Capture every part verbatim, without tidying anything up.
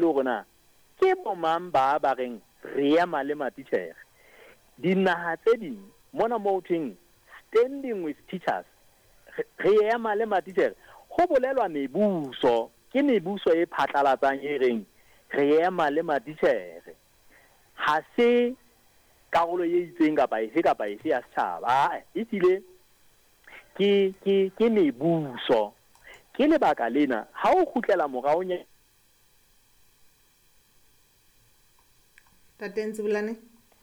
le hore na ke bomang ba ba reng re ema le matitjhere. Dinaha tse ding mona moo thweng standing with teachers, re ema le matitjhere, ho bolelwa mebuso, ke mebuso e phatlalatsang e reng re ema le matitjhere. Ha se karolo e itseng kapa efe kapa efe ya setjhaba, e hlile ke ke ke mebuso. Ke lebaka lena ha o kgutlela morao nya Ntate Ntsibulane?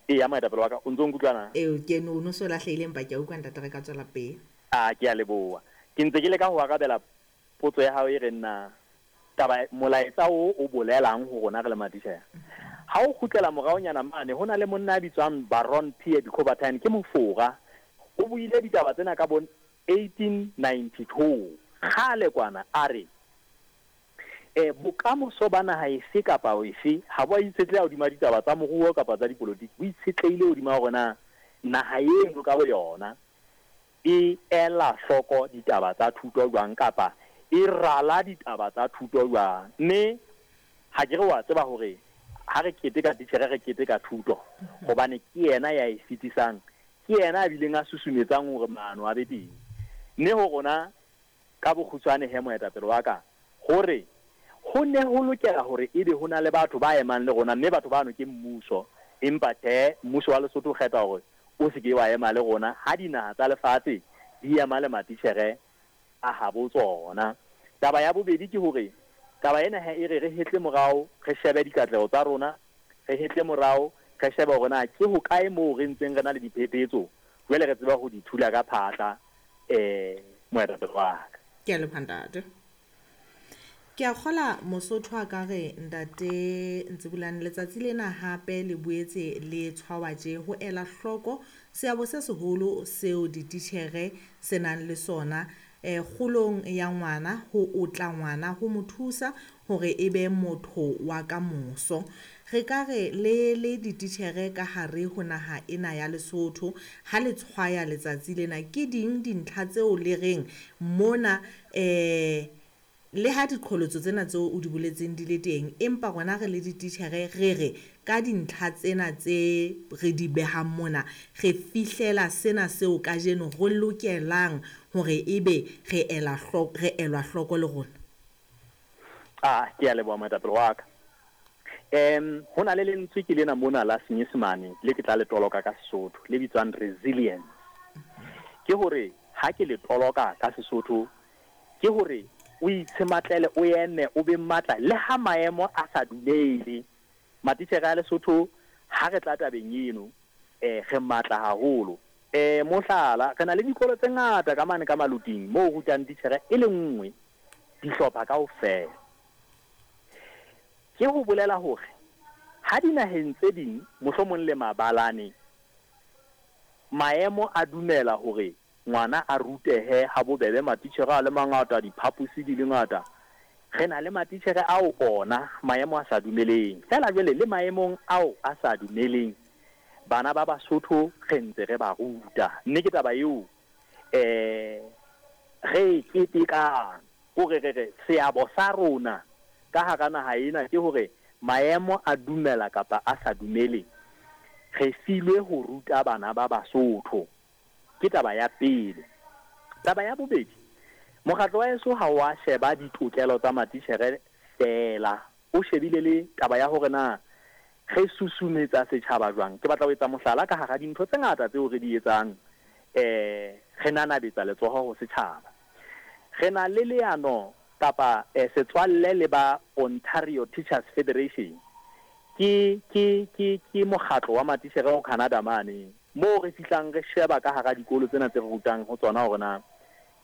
Eya, moetapele wa ka, o ntso nkutlwa na? Eo ke no no so lahlehile empa ke a utlwa ntate, re ka tswela pele. A ke a leboha. Ke ntse ke leka ho arabela potso ya hao e reng na taba molaetsa o o bolelang ho rona re le matitjhere. Ha o kgutlela moraonyana mane ho na le monna a bitswang Baron Pierre de Coubertin, ke mofora. O buile ditaba tsena ka bo eighteen ninety-two. Kgale kwana a re eh bokamoso ba naha efe kapa efe ha bo a itshetleha hodima ditaba tsa moruo kapa tsa dipolotiki, bo itshetlehile hodima hore na naha eno ka boyona e ela hloko ditaba tsa thuto jwang kapa e rala ditaba tsa thuto jwang. Mme ha ke re wa tseba hore ha re keteka titjhere re keteka thuto, hobane ke yena ya e fetisang, ke yena a bileng a susumetsang hore maano a be teng. Mme ho rona ka bokgutshwane he moetapele wa ka, hore ho ne ho lokela hore ebe ho na le batho ba emang le rona, mme batho bano ke mmuso, empa tjhe, mmuso wa Lesotho o kgetha hore o se ke wa ema le rona ha dinaha tsa lefatshe di ema le matitjhere a habo tsona. Taba ya bobedi ke hore taba ena he e re re hetle morao, re shebe dikatleho tsa rona, re hetle morao, re shebe hore na ke hokae moo re ntseng re na le diphephetso, jwale re tseba ho di thula ka phatla. Eh moetapele wa ka. Ke a leboha ntate. Ke a kgola Mosotho a ka re ntate Ntsibulane, letsatsi lena hape le boetse le tshwawa tje ho ela hloko seabo se seholo seo dititjhere se nang le sona eh kgolong ya ngwana, ho otla ngwana, ho mo thusa hore e be motho wa ka moso. Re ka re le le dititjhere ka hare ho naha ena ya Lesotho, ha le tshwaya letsatsi lena, ke ding dintlha tseo le reng mona eh le ha diqholotso tsena tseo o di boletseng di le teng, empa rona re le dititjhere re re ka dintlha tsena tse re di behang mona, re fihlela sena seo kajeno re lokelang hore ebe re ela hloko, re elwa hloko le rona. Ah, ke a leboha moetapele wa ka. Em ho na le lentswe ke lena mona la Senyesemane le ke tla le toloka ka Sesotho, le bitswang resilience. Ke hore ha ke le toloka ka Sesotho, ke hore o itshematlele, o eme, o be matla le ha maemo a sa dumele. Matitjhere a Lesotho ha re tla tabeng eno, eh re matla haholo. Eh mohlala, re na le dikolo tse ngata ka mane ka Maluting moo rutang titjhere e le nngwe dihlopha kaofela. Ke ho bolela hore ha dinaheng tse ding mohlomong le mabalane maemo a dumela hore ngwana a rutehe ha bobebe, matitjhere a le mangata, diphaposi di le ngata. Re na le matitjhere ao ona maemo a sa dumeleng. Feela jwale le maemong ao a sa dumeleng, bana ba Basotho re ntse re ba ruta. Mme ke taba eo eh re ketekang, hore re re seabo sa rona ka hara naha ena ke hore maemo a dumela kapa a sa dumele, re filwe ho ruta bana ba Basotho. Ke taba ya pele. Taba ya bobedi, mokgatlo wa heso ha wa sheba ditokelo tsa matitjhere feela, o shebile le taba ya hore na re susumetsa setjhaba jwang. Ke batla ho etsa mohlala ka hara dintho tse ngata tseo re di etsang, eh re nanabetsa letsoho ho setjhaba. Re na le leano kapa eh, setswalle le ba Ontario Teachers Federation. Ke ke ke ke mokgatlo wa matitjhere ho Canada mane, moo re fihlang re sheba ka hara dikolo tsena tse re rutang ho tsona hore na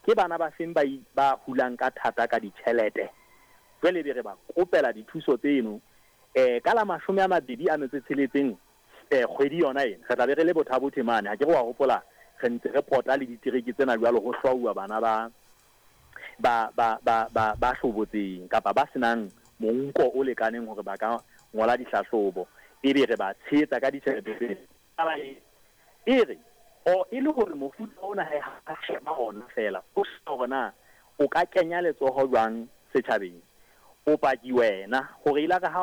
ke bana ba feng ba ba hulang ka thata ka ditjhelete. Jwale be re ba kopela dithuso tseno. Eh ka la mashome a mabedi a metso e tsheletseng eh kgwedi yona ena re tla be re le Botha-Bothe mane. Ha ke re wa hopola re ntse re pota le ditereke tsena jwalo ho hlwauwa bana ba ba ba ba ba ba hlobotseng kapa ba senang monko o lekaneng hore ba ka ngola dihlahlobo, ebe re ba tshehetsa ka ditjhelete tsena. Taba e e re o e le hore mofuta ona ha sheba ona fela, o hore na o ka kenya letsoho jwang setjhabeng. O paki wena hore ile ka ha